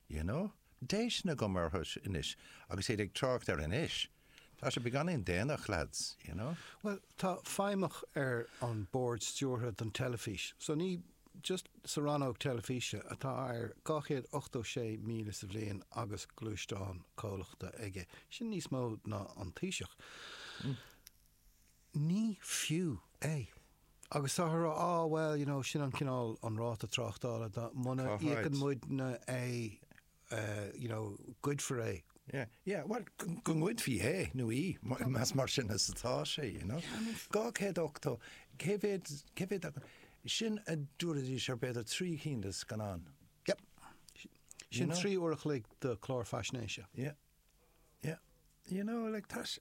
You know? Déistin agam orthu anois agus iad ag trácht air anois. Tá sé beagáinín déanach, lads, you know? Bhuel, tá feidhmeach ar an bord stiúrtha don teilifís, so ní just sa rannóg teilifíse atá ar 286,000 sa bhliain agus gluaisteán comhlachta aige. Sin níos mó ná an Taoiseach. Ní fiú é. Agus táthar a rá, ah well, you know, sin an cineál, an ráta tráchtála, dá, muna íocann muidne é, you know, goidfear é. Yeah, yeah, well, go ngoidfí é nó í, más mar sin is atá sé, you know. 280, cé mhéad, cé mhéad acu, sin a dtabharfaidís ar b'fhéidir 3 cinn de scannán. Yep. Sin 3 uair a chloig de chlár faisnéise. Yeah. Yeah. You know, like, tá sé,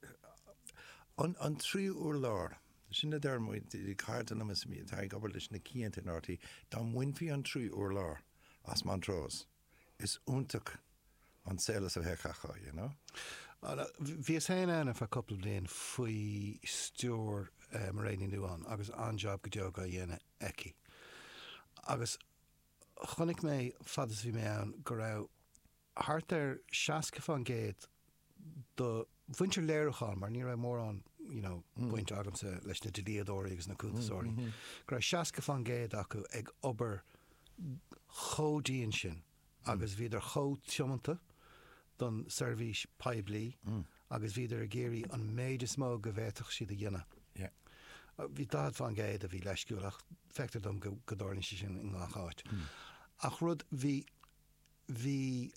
an, an tríú urlár, sin a deir muid, cairde liom is atá ag obair leis na cianta in RTÉ, dá mbainfí an tríú urlár as Montrose, is iontach an saol is a bheadh acu, you know. Bhíos féin ann ar feadh cúpla bliain faoi stiúir Mairéad Ní Nuadháin agus an-jab go deo á dhéanamh aici. Agus chonaic mé, fad is a bhí mé ann, go raibh thart ar 60% de mhuintir léiriúcháin, mar ní raibh mórán you know baint agamsa leis na dlíodóirí agus na cuntasóirí, go raibh 60% acu ag obair chomh dian sin agus bhíodar chomh tiomanta don seirbhís poiblí agus bhíodar ag iarraidh an méid is mó go bhféadfadh siad a dhéanamh. Bhí 40% a bhí leisciúil ach feictear dom go dtarlaíonn sé sin i ngach áit. Ach rud, bhí Bhí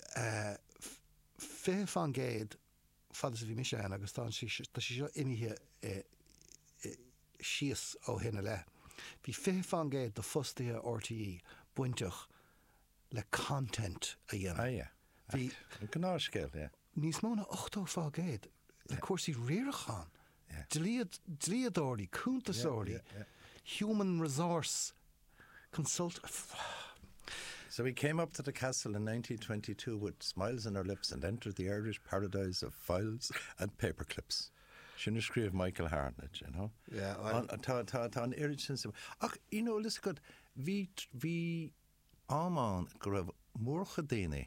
20% fad is a bhí mise ann agus tá sé seo imithe síos ó shin i leith. Bhí 20% de fostaithe RTÉ bainteach le content a dhéanamh. Ah yeah. Bhí. An gnáthscéal, yeah. Níos mó ná 80% le cúrsaí riaracháin, dlíodóirí, cuntasóirí, human resource consult. So we came up to the castle in 1922 with smiles on our lips and entered the Irish paradise of files and paper clips. Sin a scríobh Michael Hartnett, you know. Yeah, I... Tá, tá, tá an oiread sin sa... Ach, you know, listen good, bhí, bhí am ann go raibh mórchuid daoine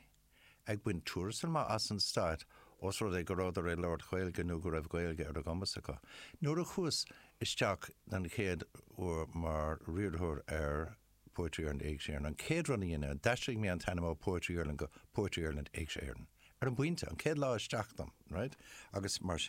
ag baint tuarastal maith as an stát os rud é go rabhadar ag labhairt Gaeilge nó go raibh Gaeilge ar a gcumas acu. Nuair a chuas isteach den chéad uair mar riarthóir ar Poetry Ireland Éigse Éireann, an chéad rud a dhein mé, d'aistrigh mé an t-ainm ó Poetry Ireland go Poetry Ireland Éigse Éireann. Ar an bpointe, an chéad lá isteach dom, right? Agus mar sin.